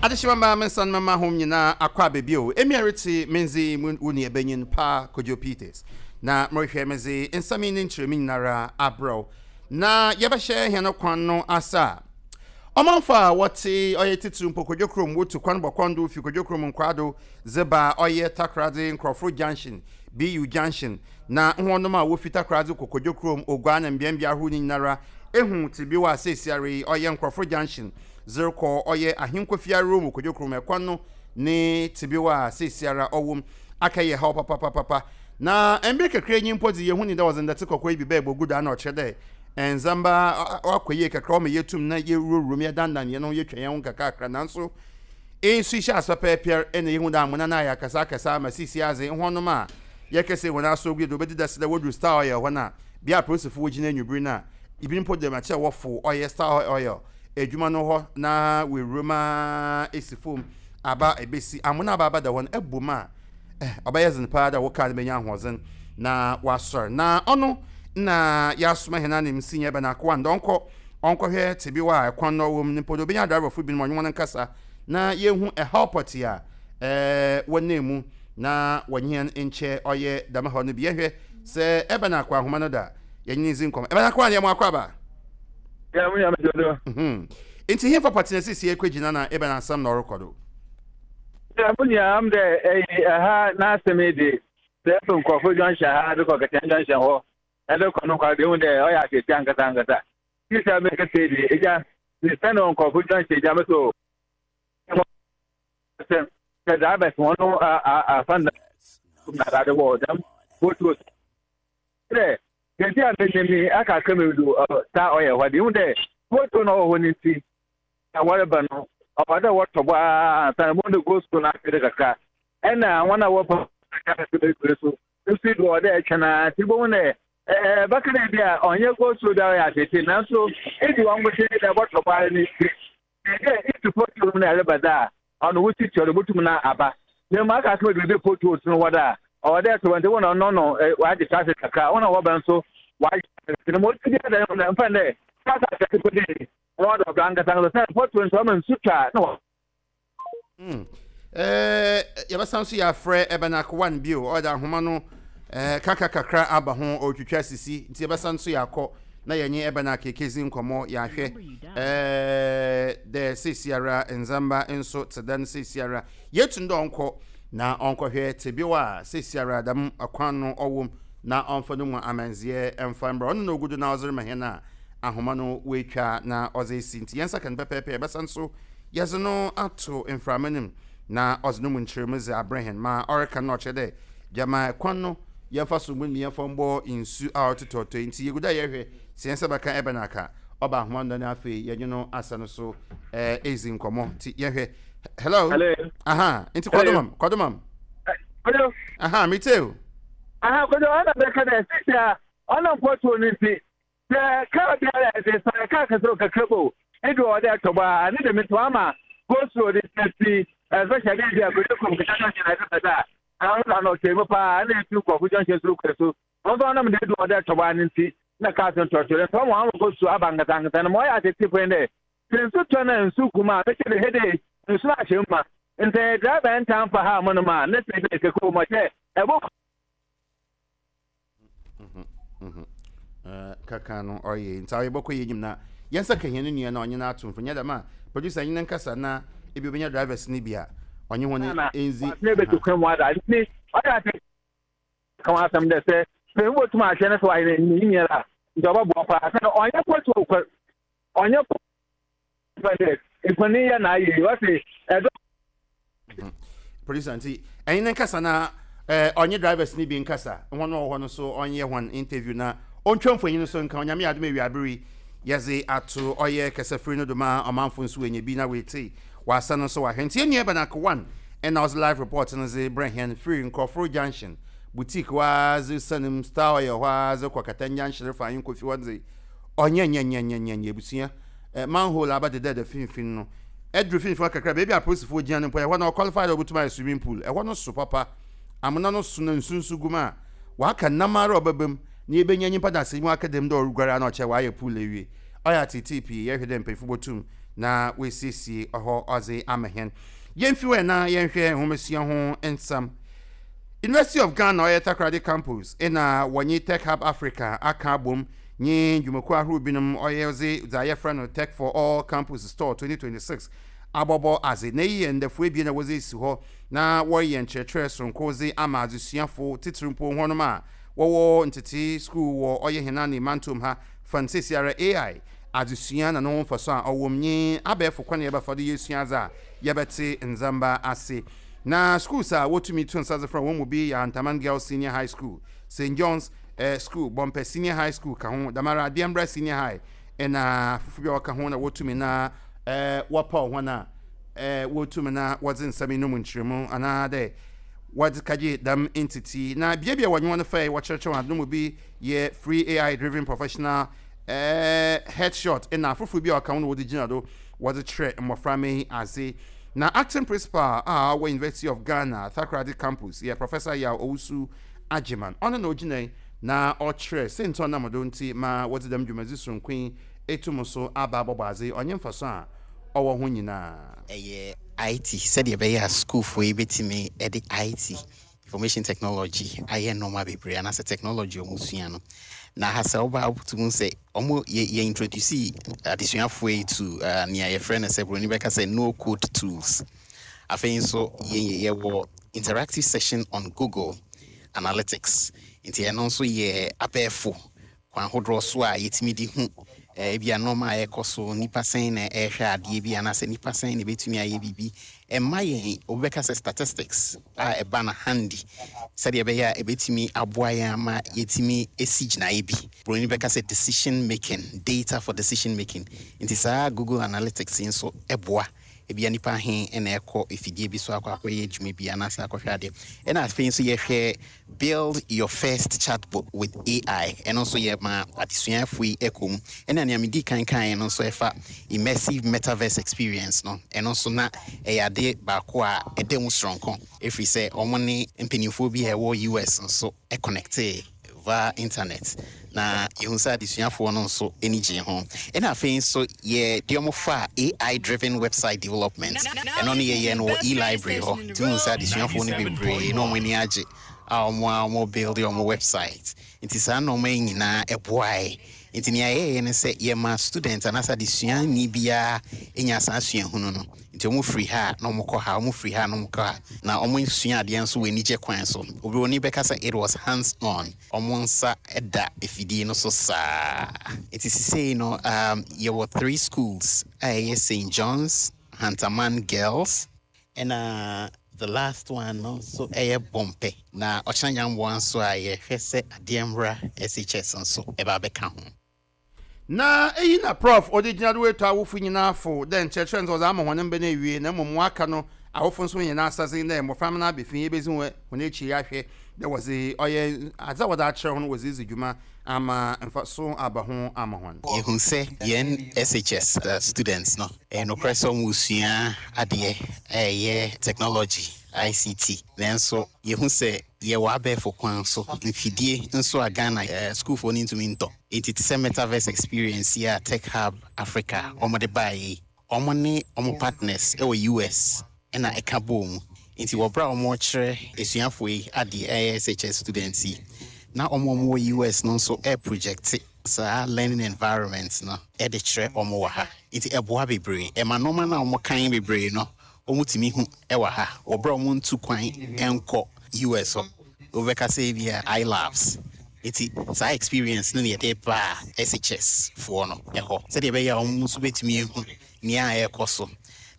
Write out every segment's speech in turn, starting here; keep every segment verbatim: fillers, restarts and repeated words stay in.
Adehyema mmaa, me nsa no mama hom nyinaa akɔ aba bio. Emi a retse me ndze yi mu wo nuabanyin Pa Kojo Peters, na morehwɛ medze nsɛm yi ne nkyerɛmu nyinara abrɛ wo. Na yɛbɛhyɛ hɛn kwan no ase a, ɔmanfo a wɔtse ɔyɛ tsitsir mpo Kodwo kurom wotu kwan bɔ kɔn do fi Kodwo kurom nkwado dze ba ɔyɛ Takoradi Nkorɔfo Junction, B U Junction, na hɔnom a wofi Takoradi kɔ Kodwo kurom, Oguaa na mbeambea ahorow no nyinara ehu tsebew a seesiara yi ɔyɛ Nkorɔfo Junction dze rekɔ ɔyɛ Ahenkofie ahorow mu Kodwo kurom ɛkwan no ne tsebew a seesiara ɔwɔ mu akɛyɛ haw papapapapa. Na mbere kakra nyi mpo dze, yehu ni dɛ wɔdze ndɛtse kɔkɔɔ yi bi bɛɛ bogu do ana ɔkyerɛ dɛ ndzɛmba akɔ yie kakra, ɔma yɛtum na yɛwurawura mu, yɛdandan yɛn ho, yɛtwa yɛn ho kakrakra. Nanso nsu hyɛ ase pɛpɛɛpɛr ɛna yehu dɛ amona no ayɛ akɛse akɛse ama sisi adze hɔnom a yɛkɛsɛ wɔn aso gu do obɛdi dase dɛ wɔduru Star Oil hɔ no a, bea apolisifo wɔgyina anwummere no a, ebi mpo dɛm akyerɛ wɔfo ɔyɛ Star Oil adwuma no hɔ na wɔawura mu a esi fam aba ebesi amona aba aba da hɔ no ɛbɔ mu a, ɔbɛyɛ dzen paa dɛ wo kaa no bɛnya ahoɔdzen na wasɔre. Na ɔno na yɛasoma hɛn anem si nyɛ bɛn akoa ndɛ ɔnkɔ ɔnkɔhwɛ tebew a ɛkwan no ɔwɔ mu no mpo de obɛnya driverfo binom ɔnye wɔn nkasa na yɛhu ɛhaw pɔte a ɛɛ wɔnam mu na wɔnye hɛn nkyɛ ɔyɛ dɛm haw no bi. Yɛhwɛ sɛ ɛbɛn akɔ ahoma no da yɛnye ne dzi nkɔmmɔ. Ɛbɛn akoa ne yɛ mo akɔ aba. Yeah, we are dodo. Nti hemfa pɔte na sisi ekɔgyina na ɛbɛn asɛm na ɔrekɔ do? Yeah, mo nua am dɛ ɛyi ɛha n'asɛm yi de sɛ ɛfɛ Nkurɔfo Junction ha de kɔ Kɛtɛn Junction hɔ ɛde kɔ no nkwa de ehu dɛ ɔyɛ atete ankasa ankasa. Sisi a mekasa yi de egya sɛ na Nkurɔfo Junction egya mi so sɛ sɛ drivers wɔn no afa na na ade wɔ dɛm potholes dɛ kɛntɛ a mɛnyɛ mi aka aka mi do saa ɔyɛ hɔ de ehu dɛ pothole na ɔwɔ hɔ ne nti na wɔreba no ɔwɔ dɛ wɔtɔ bɔ aa ansa na wɔn de go school na afei kakra ɛna wɔn a wɔpɛ kakra so nso do ɔwɔ dɛ ɛtwɛn na ti bɔ wɔn dɛ ɛɛ bɛka dɛ bi a ɔnyɛ go slow bi a ɔyɛ atete, nanso edi wɔn nkosi dɛ wɔtɔ bɔ ara ne ti dɛ esi pothole mu na ɛreba dɛ a ɔno wosi kyerɛ do botum na aba na mu aka asɛm bebree. Pothole no wɔ dɛ a ɔwɔ dɛ ɛtɔ wɔn nti wɔn ɔno no wagye traffic kakra, wɔn a wɔbɛn nso wagye traffic na mo ti bi ada mfa dɛ traffic akɛse ko de wɔn dɔ ɔbra ankasa ankasa sɛ pothole nso ɔma nsu twa na wɔ. Yɛbɛsan so yɛafrɛ ɛbɛn one bio. Ɔde ahoma no kaka kakra aba ho, ɔretwitwa sisi, nti yɛbɛsan so yɛakɔ na yɛnye ɛbɛn akeke zi nkɔmmɔ, yɛahwɛ dɛ seesiara ndzɛmba nso te dɛn. Seesiara yɛtu dɛ ɔnkɔ na ɔnkɔhwɛ tebew a seesiara dɛm kwan no ɔwɔ mu na ɔmfa no mu amanzeɛ ɛmfa mbrɛ ɔno na ogu do na ɔdze rema hɛn a ahoma no wɔatwa na ɔdze esi. Nti yɛn nsa ka no pɛpɛɛpɛ, yɛbɛsan so yɛdze no ato mframa no mu na ɔdze no mu nkyerɛmu dze abrɛ hɛn. Ma ɔreka no, ɔkyerɛ dɛ gyama kwan no yɛmfa so mu ne yɛmfa mbɔ nsu a ɔtotɔtɔ yi. Nti yɛgu dɛ yɛhwɛ sɛ yɛn nsa bɛka ɛbɛn aka ɔba ahoma no na afei yɛnye no asa no so ɛɛ ezi nkɔmmɔ. Nti yɛhwɛ. Hello? Hello. Aha, nti kɔdomam kɔdomam. Kojo. Aha, mete o. Aha, Kojo, ɔna bɛka dɛ sisi a ɔnam pothole no nti sɛ kaa biara ɛsɛ sɛ kaa kɛse o kakra bo ebi wɔ dɛ ɛtɔ bɔ a ne dɛm nti wama go slow de sɛ fi especially bi a Kojo kurom kɛtɛ Junction na ɛsɛ sɛ dɛ a ɔno na ɔtɔ mu paa na efi Nkurɔfo Junction soro kɔ so wɔn nso ɔnam de edu wɔ dɛ ɛtɔ bɔ a ne nti na kaa so ntɔtɔ nti wɔn ama go slow aba nkasa nkasa. Na ma ɔyɛ atete pɛn dɛ sɛ nsu tɔ na nsu gu mu a, bɛkyɛ de hede nsu no ahyɛ mu ma nti driver ntan fa ha mo no ma ne sɛ bi kɛkɛ wɔ mu ɔkyɛ ɛbɔ. Kaka no ɔyɛ nti ɔyɛ bɔkɔ yɛ enyim na yɛn nsa ka hɛn nua na ɔnye no ato mfo nyɛ dɛm a, producer nye ne nkasa na ebi obenya drivers no bi a ɔnye wɔn ndzi. Ne bɛtu kwan mu ada nti ɔyɛ ate ka ho asɛm dɛ sɛ sɛ wobɛtum ahwɛ no sɛ wayɛ ne nyinara nti ɔbɛboa paa sɛ ɔnyɛ pothole kɔ ɔnyɛ dɛ nkɔni yɛ na ayɛ wɔse ɛdɔ. Producer, nti ɛnye ne nkasa na ɛɛ ɔnye drivers no bi nkasa, wɔn a wɔwɔ hɔ no so ɔnyɛ wɔn interview na ɔntwa mfonyin no so nka. Onyame yɛ adom, awia abere yɛdze ato ɔyɛ kɛsɛfiri no do ma ɔmanfo nso wɔanya bi na wɔete wasa no nso wahwɛ. Nti yɛn nua Bɛnako one ɛna ɔdze live report no dze brɛ hɛn firi Nkurɔforo Junction boutique hɔ a dze sanim Star Oil hɔ a dze kɔ Kɛtɛn Junction refa Ahenkofi hɔ dze ɔnyɛ nyɛ nyɛ nyɛ nyɛ nyɛ abusua manhole aba deda finfin no ɛduru finfin hɔ kakra, beebi a apolisifoɔ gyina no mpo ɛhɔ na ɔqualify dɛ ɔbɛtumi ayɛ swimming pool. Ɛhɔ no so papa, amona no so na nsu nso gu mu a waka nam ara ɔbɛba mu na yɛbɛnya nyimpa da asɛm mu aka dɛm dɛ ɔreguare a na ɔkyɛ wayɛ pool awie. Ɔyɛ atete pii. Yɛhwɛ dɛ mpanyinfo bɔtum Na wɔasiesie hɔ ɔdze ama hɛn. Yɛmfi hɔ na yɛnhwɛ nhomasua ho nsɛm. University of Ghana ɔyɛ Takoradi Campus ɛna wɔnye Tech Hub Africa aka abom nye dwumakuo ahorow binom ɔyɛ dze dza yɛfrɛ no Tech for All Campus Store twenty twenty-six abɔbɔ adze. Na yi yɛ ndafo ebien a wɔdze esi hɔ na wɔreyɛ nkyerɛkyerɛ soronko dze ama adzesuafo, titiri mpo hɔnom a wɔwɔ ntete school wɔ ɔyɛ henane mantom ha fan sesiara A I adesua na ne ho mfaso a ɔwɔ mu nye abɛɛfo kwan a yɛbɛfa do yɛsua adze a yɛbɛte ndzɛmba ase. Na schools a wotumi to nsa dze frɛ wɔn mu bi yɛ Antaman Girls Senior High School, Saint John's eh, School, Bɔmpɛ Senior High School ka ho, damara Adiambra Senior High ɛna fufu bi a wɔka ho na wotumi na eh, wɔpaw wɔn a eh, wotumi na wɔdze nsɛm yi no mu nkyerɛmu anaa dɛ wɔdze kagye dɛm ntete. Na beabea wɔnye wɔn fɛ wɔkyerɛkyerɛ wɔn ade no mu bi yɛ free A I driven professional eh, headshot ɛna afoforɔ bi a ɔka ho na wɔde gyina do wɔdze kyerɛ mmɔframma yi ase. Na acting principal a ɔwɔ University of Ghana Takoradi Campus yɛ Professor Yaw Owusu Agyeman. Ɔno na ogyina yi na ɔkyerɛ sɛnti ɔnam do nti ma wɔdze dɛm dwumadzi sononko yi etum so aba abɔbɔ adze, ɔnye mfaso a ɔwɔ ho nyinaa. Ɛyɛ I T sɛdeɛ ɛbɛyɛ a sukuufoɔ yi bɛtumi de I T, information technology, ayɛ nneɛma bebree anaasɛ technology a ɔmo sua no. Na ha sɛ woba, wotumi sɛ ɔmo yɛ yɛ introduce adesuafoɔ yi to uh, nea yɛfrɛ no sɛ buroni bɛka sɛ no code tools. Afei nso yɛ yɛwɔ interactive session on Google Analytics, nti ɛno nso yɛ abɛɛfo kwan ahodoɔ so a yɛtumi de hu eh, ebi a nneɛma a ɛkɔ so, nipa sɛn na ɛrehwɛ adeɛ bi anaasɛ nipa sɛn na ebɛtumi ayɛ biribi. Ɛma yɛn obi bɛka sɛ statistics a ɛba no handy sɛdeɛ ɛbɛyɛ a ɛbɛtumi aboa yɛn ama yɛtumi esi gyinaeɛ bi. Buroni bɛka sɛ decision making, data for decision making. Nti saa Google Analytics yi nso ɛboa ebia nipa he ɛna ɛkɔ efidie bi so akɔ akɔyɛ adwuma bi anaasɛ akɔhwɛ adeɛ. Ɛna afei nso yɛhwɛ build your first chatbot with A I. Ɛno nso yɛ ma adesuafoɔ yi ɛkɔ mu. Ɛna nea medi kan kan no nso ɛfa immersive metaverse experience no, ɛno nso na ɛyɛ ade baako a ɛda mu soronko, ɛfiri sɛ ɔmo ne mpanimfoɔ bi a ɛwɔ U S nso ɛconnecte via internet na yɛhu sɛ adesuafoɔ no nso ani gye ho. Ɛna afei nso yɛ deɛ ɔmo fa A I driven website development, ɛno no yɛyɛ no wɔ e-library hɔ, nti wohu sɛ adesuafoɔ no bebree na ɔmo ani agye a ɔmo a ɔmo build ɔmo website. Nti saa nneɛma yi nyinaa ɛboae. Nti nea yɛyɛ ne sɛ yɛma student anaasɛ adesuani biara ɛnya saa suahunu no. Nti ɔmo firi ha na ɔmo kɔ ha, ɔmo firi ha na ɔmo kɔ ha, na ɔmo sua adeɛ nso wɔ anigye kwan so. Obi oni bɛka sɛ it was hands on, ɔmo nsa ɛda efidie no so saa. Nti sisei no um, yɛwɔ three schools a ɛyɛ Saint John's, Hantaman Girls, ɛna the last one no nso ɛyɛ Bɔmpɛ. Na ɔkyena Nyamboa nso a yɛhwɛ sɛ adeɛ mmra S H S nso ɛba abɛka ho. Na eyi na Prof ɔde gyina do etu awofo nyinaa fo dɛ nkyerɛkyerɛ nso ɔdze ama hɔn mba no awie, na mmom waka no awofo nso nyinaa asase dɛ mmɔframma no abɛfi ebezi wɔn hɔn akyi ahwɛ dɛ wɔdze ɔyɛ adze a wɔdze akyerɛ hɔn wɔdze dzi dwuma ama mfaso aba ho ama hɔn. Yɛhu sɛ yɛn S H S uh, students no, ɛyɛ nokorɛ sɛ ɔmo sua adeɛ a ɛyɛ technology, I C T, nanso yɛhu sɛ yɛwɔ abɛɛfo kwan so mfidie nso a Ghana uh, sukuufoɔ no ntumi ntɔ. Nti te sɛ metaverse experience yi a Tech Hub Africa ɔmode baeɛ yi, ɔmo ne ɔmo partners ɛwɔ U S ɛna ɛka bɔɔ mu. Nti wɔberɛ a ɔmo kyerɛ asuafoɔ yi adeɛ, ɛyɛ S H S students yi, na ɔmo a ɔmo wɔ U S no nso ɛproject saa learning environment no ɛde kyerɛ ɔmo wɔ ha. Nti ɛboa bebree, ɛma nneɛma no a ɔmo kan bebree no ɔmo tumi hu ɛwɔ ha wɔberɛ a ɔmo ntu kwan ɛnkɔ U S hɔ. Wobɛka sɛ bi a iLabs. Nti saa experience no ne yɛde baa S H S foɔ no ɛhɔ sɛdeɛ ɛbɛyɛ a ɔmo nso bɛtumi ehu nea a ɛrekɔ so.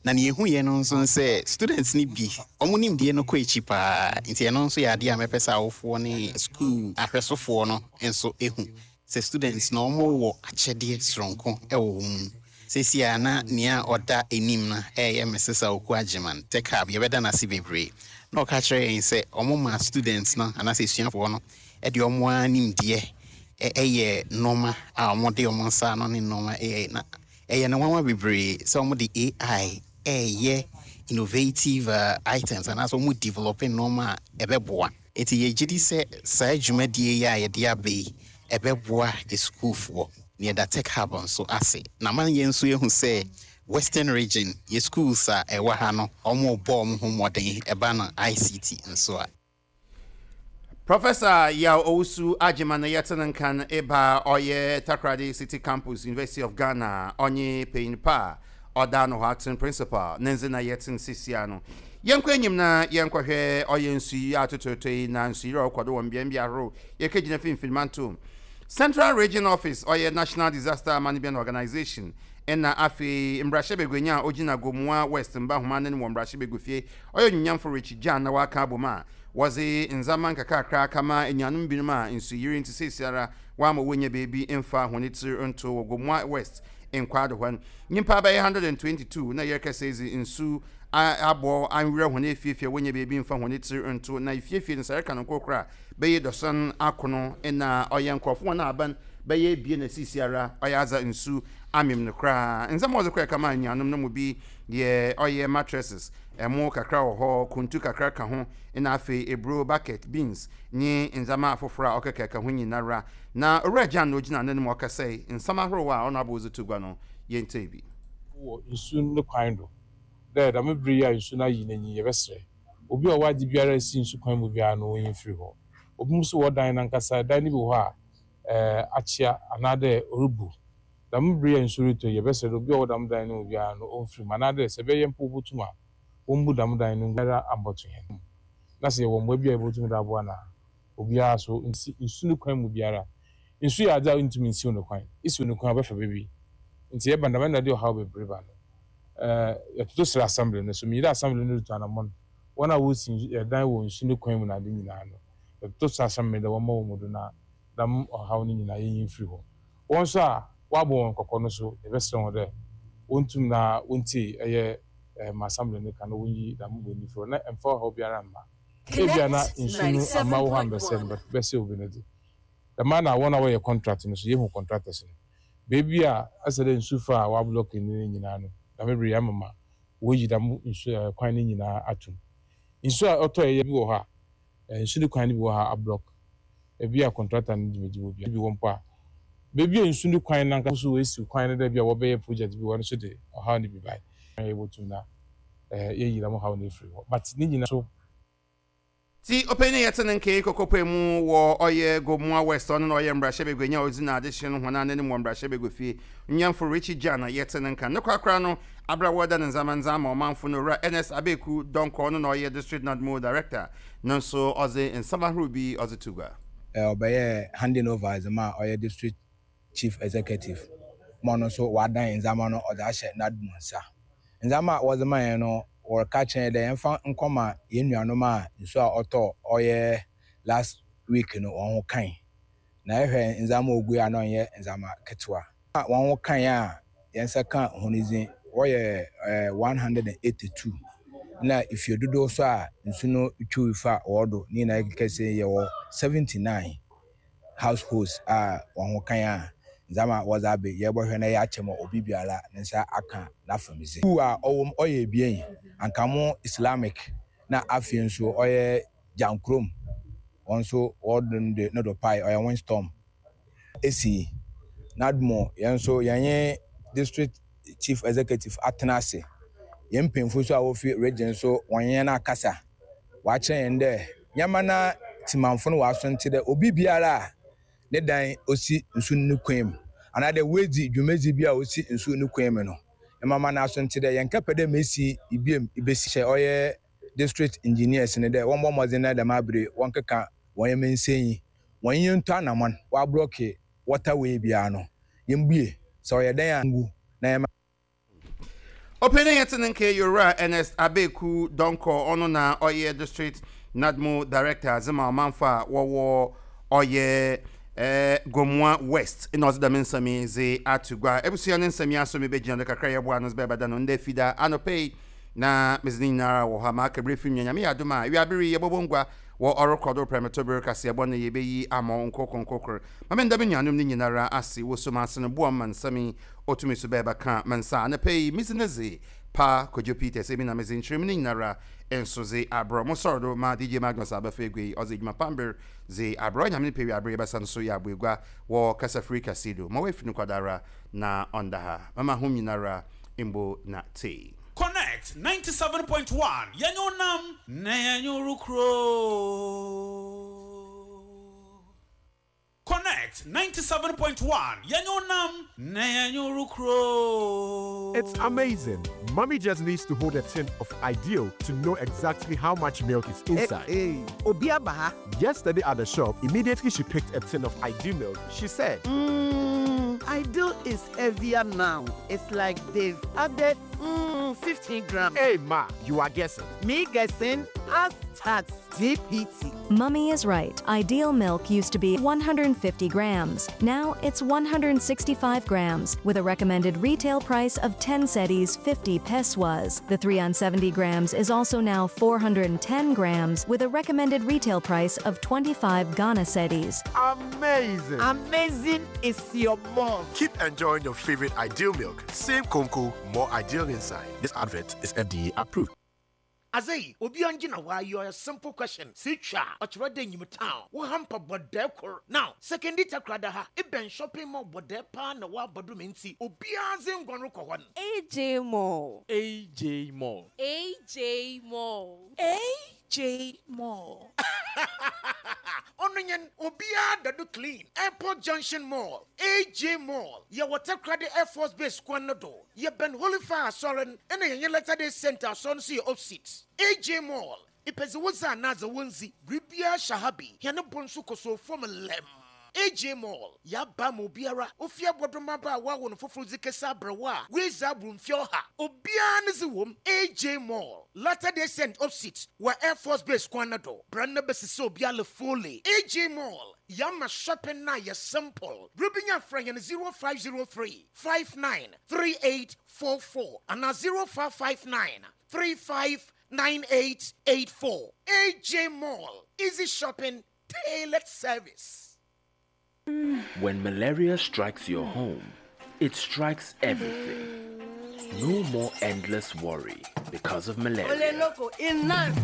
Na nea ehu yɛ no nso sɛ students no bi ɔmo nimdeɛ no kɔ akyi paa. Nti ɛno nso yɛ adeɛ a mɛpɛ sɛ awofoɔ ne school ahwɛsofoɔ no nso ehu sɛ students na ɔmo wɔ akyɛdeɛ soronko ɛwɔ wɔn mu. Sɛsi a na nea ɔda anim no ɛyɛ Missus Aoku Agyeman, Tech Hub, yɛbɛda n'ase bebree, na ɔka kyerɛ yɛn sɛ ɔmo ma students no anaasɛ esuafoɔ no ɛde ɔmo ara nimdeɛ ɛyɛ nneɛma a ɔmo de ɔmo nsa ano ne nneɛma ɛyɛ, na ɛyɛ no nwanwa bebree sɛ ɔmo de A I ɛyɛ innovative uh, items anaasɛ ɔmo develop nneɛma a ɛbɛboa. Nti yɛgye di sɛ saa dwumadie yi a yɛde aba yi ɛbɛboa esukuufoɔ. Na yɛda Tech Hub nso ase na ma yɛn nso yɛhu sɛ Western Region yɛ schools a ɛwɔ ha no, ɔmo bɔ ɔmo ho mmɔden ɛba no I C T nso a. Professor Yaw Owusu Agyeman na yɛte ne nkan eba ɔyɛ Takoradi City Campus, University of Ghana, ɔnye panyin pa a ɔda no hɔ aten principal ne ndze na yɛte no sisia no. Yɛnkɔ enyim na yɛnkɔhwɛ ɔyɛ nsu yi atototo yi na nsu yi a ɔkɔ do wɔ mbeambea ahorow. Yɛkɛgyina Mfimfini Mantom, Central Region Office, ɔyɛ National Disaster Management Organization, ɛna afei mmarahyɛbaguanyi a ogyina Gomoa West mba homa ne wɔ mmarahyɛbaguafie, ɔyɛ onyamfo Richie Gyan, na waka abom a wɔdze ndzɛmba nkakrakra kama enuanom binom a nsuyiri nti seesiara wɔama wɔnya beebi mfa hɔn tsir nto wɔ Gomoa West Nkwado hɔ no. Nyimpa bɛyɛ ɔha aduonu aduonu na yɛrekɛsɛ dzi nsu abɔ anwerɛ hɔn efiefie a wɔnya beebi mfa hɔn tsir nto, na efiefie no sɛ ɛreka no nkorokoro a bɛyɛ dɔsɔn akono na ɔyɛ nkorɔfo wɔn a aban bɛyɛ ebien na sisiara ɔyɛ adza nsu amem no koraa. Ndzɛmba a wɔdze kɔɛ kama enuanom no mu bi yɛ ɔyɛ mattresses, ɛmo kakra wɔ hɔ, kuntu kakra ka ho, na afei eburo bucket, beans nye ndzɛmba afoforɔ a ɔkeka ho nyinara. Na Owura Gyan na ogyina n'anim ɔkasa yi, nsɛm ahorow a ɔno abɔ dze to gua no, yɛntie bi. Wɔ nsu ne kwan do dɛ dɛm bere yi a nsu no ayi n'anyi, yɛbɛsrɛ obi a ɔwɔ ade biara si nsu kwan mu biara no, wɔnyi mfiri hɔ. Obi nso wɔ dan nankasa dan no bi wɔ hɔ a ɛɛ akyea anaadɛ ɔrebu. Dɛm bere a nsu retɔ yi, yɛbɛsrɛ dɛ obi a ɔwɔ dɛm dan no mu biara no ɔmfiri mu, anaadɛ sɛ ɛbɛyɛ mpo wobotum a wɔmbu dɛm dan no biara ambɔto hɛn na sɛ yɛwɔ mmoa bi a yɛbɛtum de aboa na obiara so nsi nsu no kwan mu biara. Nsu yɛ adze a ntumi nsiw no kwan, isiw no kwan a ɔbɛfa baabi, nti yɛba dɛm na de ɔhaw bebree ba no. ɛɛ yɛtoto srɛ assembly no so, meyi dɛ assembly no retu anammɔn, wɔn a wɔsi ɛdan wɔ nsu no kwan mu na ade nyinaa no, yɛtoto srɛ assembly dɛ wɔmmɔ wɔn do na dɛm ɔhaw no nyinaa yɛnyi mfiri hɔ. Wɔn nso a wɔabɔ wɔn kɔkɔ no so, yɛbɛsrɛ wɔn dɛ wɔntum na wɔntie ɛyɛ ɛɛ ma assembly no ka na wɔnyi dɛm bɔ firi hɔ na ɛmfa ɔhaw biara mma. Ebia na nsu no amma wo hɔ ambɛsɛ no, bɛsɛ obi no de dɛm na wɔn a wɔyɛ contract no so, yɛhu contractors no beebi a asɛ dɛ nsu fa a wɔablock ne nyinaa no, dɛm bere yɛ ama wɔyi dɛm nsu ɛɛ kwan no nyinaa atum. Nsu a ɔtɔ yɛ bi wɔ hɔ a nsu no kwan no bi wɔ hɔ a ablock, ebi a contractor no dwumadzi wɔ bi bi wɔ mpo a beebi a nsu no kwan nankasa so wɔesi kwan no dɛ bi a wɔbɛyɛ project bi wɔ no so de ɔhaw no bi bae, yɛbɛtum na ɛɛ yɛyi dɛm ɔhaw no efiri hɔ, but ne nyinaa so. Ti ɔpanyin yɛte ne nke kɔkɔpɛ mu wɔ ɔyɛ Gomoa West, ɔno na ɔyɛ mmarahyɛbaguanyi a ɔdzi n'adehye no hɔn anim wɔ mmarahyɛbagua fie, nyɛmfo Richie Gyan na yɛte ne nka ne korakora no abra wɔda ne ndzɛmba ndzɛmba ɔmanfo no. Owura Ernest Abeku Dɔnkɔ, ɔno na ɔyɛ District NADMO Director no nso, ɔdze nsɛm ahorow bi ɔdze to gua. Ɔbɛyɛ handing over dze ma ɔyɛ District Chief Executive ma ɔno nso wadan ndzɛmba no ɔdze ahyɛ NADMO nsa. Ndzɛmba a wɔdze ma yɛn no, wɔreka kyerɛ dɛ yɛmfa nkɔma yɛn nuanom a nsuo a ɔtɔ ɔyɛ last week no wɔn ho kan, na yɛhwɛ ndzɛmba a ogu a na ɔnyɛ ndzɛmba ketewa a wɔn ho kan a yɛn nsa ka wɔn dzin wɔyɛ ɛɛ one hundred and eighty two, na efie dodoɔ so a nsu no twiw fa wɔn ne nyinaa kɛse yɛwɔ seventy nine households a wɔn ho kan a ndzɛmba a wɔdze abɛ yɛbɔhwɛ na yɛakyɛ ma obi biara ne nsa aka n'afamdze. School a ɔwɔ mu ɔyɛ ebien, Ankamo Islamic na afei nso ɔyɛ Gyankurom, wɔn nso wɔde de ne do pae ɔyɛ windstorm esi. NADMO yɛn nso yɛnye District Chief Executive atena ase, yɛn mpanyinfo nso a wofi region nso wɔn yɛn akasa, wɔakyerɛ yɛn dɛ nyɛma na timanfo no wɔaso nti dɛ obi biara a ne dan osi nsu ne kwan mu anaadɛ woedzi dwumadzi bi a osi nsu ne kwan mu no, mmama n'aso nti dɛ yɛn kɛpɛ dɛ mesi ibiem ibesi hyɛ ɔyɛ district engineers ne dɛ wɔn bɔ mmɔden na dɛm abere wɔn keka wɔn yɛn nsɛnyi wɔn yɛn ntu anamɔn wɔablock waterway biara no, yɛn bue sɛ ɔyɛ dan a ngu na yɛn. Ɔpanyin yɛte ne nke Yowura Ernest Abeku Dɔnkɔ, ɔno na ɔyɛ District NADMO Director adze ma ɔmanfo a wɔwɔ ɔyɛ ɛɛ Gomoa West, ɛna ɔdze dɛm nsɛm yi dze ato gua. Ebusua ne nsɛm yi aso mi bɛgyina do kakra, yɛboa no bɛbɛda no ndɛ Fida anɔpɛ yi na medze ne nyinara wɔ hɔ a maaka bere fi nwa. Nyame yɛ adom a, ewiabere yi yɛbɔbɔ ngua wɔ ɔrekɔ do prɛmɛtɔ bere kaseɛbɔ no yɛbɛyi ama nkoko nkokor. Ma menda me nuanom ne nyinara ase wɔ som ase no boa ma nsɛm yi ɔtumi so bɛɛba ka ma nsa. Anɔpɛ yi medzi ne dze Pa Kojo Peters emi na medze nkyerɛmu no nyinara nso dze abrɛ mo sɔrɔ do ma D J Magnus abɛfa egua yi, ɔdze edwuma pamber dze abrɛ. Nyame ne pɛ, wiabere yɛbɛsa no so yɛ aboegua wɔ kasafiri kɛse do ma woafi no kwadara na ɔnda ha. Mama hom nyinara Mbo na tee. Connect ninety-seven point one, yɛnyɛ nam na yɛnyɛ kuro. Connect ninety-seven point one, yɛnyɛ nam na yɛnyɛ kuro. It's amazing. Mommy just needs to hold a tin of Ideal to know exactly how much milk is inside. Hey, hey. Obi aba ha. Yesterday at the shop, immediately she picked a tin of Ideal milk. She said, Mmm, Ideal is heavier now. It's like they've added mm, fifteen grams. "Hey, Ma, you are guessing." Me guessing? Ask Chat G P T. Mummy is right. Ideal milk used to be one hundred fifty grams. Now it's one hundred sixty-five grams with a recommended retail price of ten cedis fifty pesewas. The three hundred seventy grams is also now four hundred ten grams with a recommended retail price of twenty-five Ghana cedis. Amazing. Amazing is your mom. Keep enjoying your favorite Ideal milk. Same Konko, more ideal inside. This advert is F D A approved. Azei obi angye na waayɛ a simple question si twa ɔkyerɛ dɛ nyim town wo hamper bɔdɛɛ kor now Sekondi Takoradi ha ebɛn shopping mall bɔdɛɛ paa na woabɔ do me nti obiara dze ngua no kɔ hɔ no. A J Mall. A J Mall. A J Mall. A J Mall. Ɔno nyɛn obiara da do clean Airport Junction Mall, A J Mall, yɛwɔ Takoradi Air Force Base kwan no do, yɛbɛn Holy Fire asɔre no ɛna yɛnyɛ Latter Day Saint asɔre no so yɛ opposite A J Mall. Ipɛdze wo dze anaadze wo ndzi biribiara hyɛ ha bi hɛn bo nso kɔsɔ fam lɛm. A J Mall yaba ma obiara ofie abɔdɔmaba a wawo no foforɔ dzi kɛse abrɛwɔ a woedzi aboro mfie ɔha obiara ne dze wom. A J Mall, Latter Day Saint opposite wɔ Air Force Base kwan no do bra na bɛsisi obiara fully. A J Mall yama shopping na yɛ simple. Rubinya frɛ yɛn zero five zero three five nine three eight four four anaa zero five five nine three five nine eight eight four. A J Mall, easy shopping, tailored service. When malaria strikes your home, it strikes everything. No more endless worry because of malaria. Loko, enough.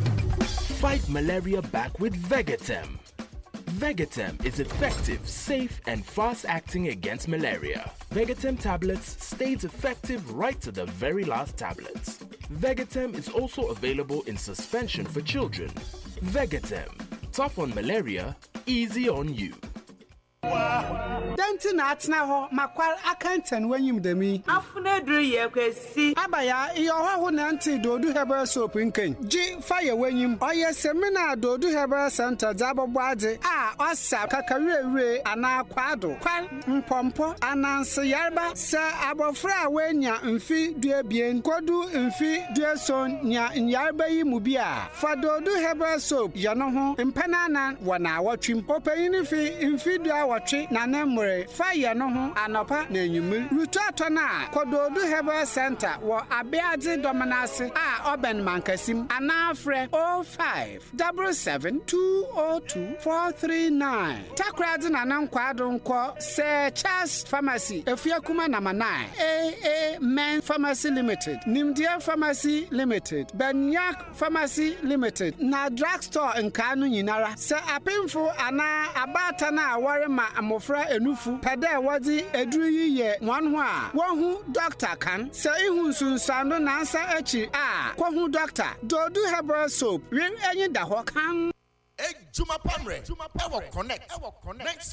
Fight malaria back with Vegatem. Vegatem is effective, safe, and fast acting against malaria. Vegatem tablets stays effective right to the very last tablet. Vegatem is also available in suspension for children. Vegatem, tough on malaria, easy on you. Dɛn nti na atena hɔ makwar akɛntɛn w'enyim dɛm yi? Afuna duru yɛ kwesi. Abaya iyɛ ɔhɔho na nte Doodu Herbal Soap nkɛn gye fa yɛ w'enyim. Ɔyɛ semina a Doodu Herbal Center dze abɔbɔ adze a ɔsa kakawurawure anaa kwado kwar mpɔmpɔ ananse yarba. Sɛ abɔfra a woanya mfe duebien kodu mfe dueson nya nyarba yi mu bi a, fa Doodu Herbal Soap yɛ no ho mpɛn anan wɔ naawɔtwem. Ɔpanyin fi mfe du awɔtwe na ne mmere, fa yɛ no ho anɔpa na anwummere. Rutu atɔ no a, kɔ Doodu Herbal Center wɔ Abeadze Dɔm ase a ɔbɛn Mankasim anaa frɛ zero five double seven two zero two four three nine. Takoradi na ne nkwaado nkɔ Sir Charles Pharmacy, Efiakuma number nine, A A Men Pharmacy Limited, Nimdeɛ Pharmacy Limited, Benyak Pharmacy Limited na drugstore nkaa no nyinara. Sɛ apemfo anaa abaatan a wɔrema mmɔfra enufu pɛ dɛ wɔdze eduru yi yɛ wɔn ho a, wɔhu dɔkta kan. Sɛ ihu nsunsuando nansa akyi a, kɔhu dɔkta. Doodu Herbal Soap wer enyi da hɔ kan. Ejuma pamrɛ ɛwɔ Connect.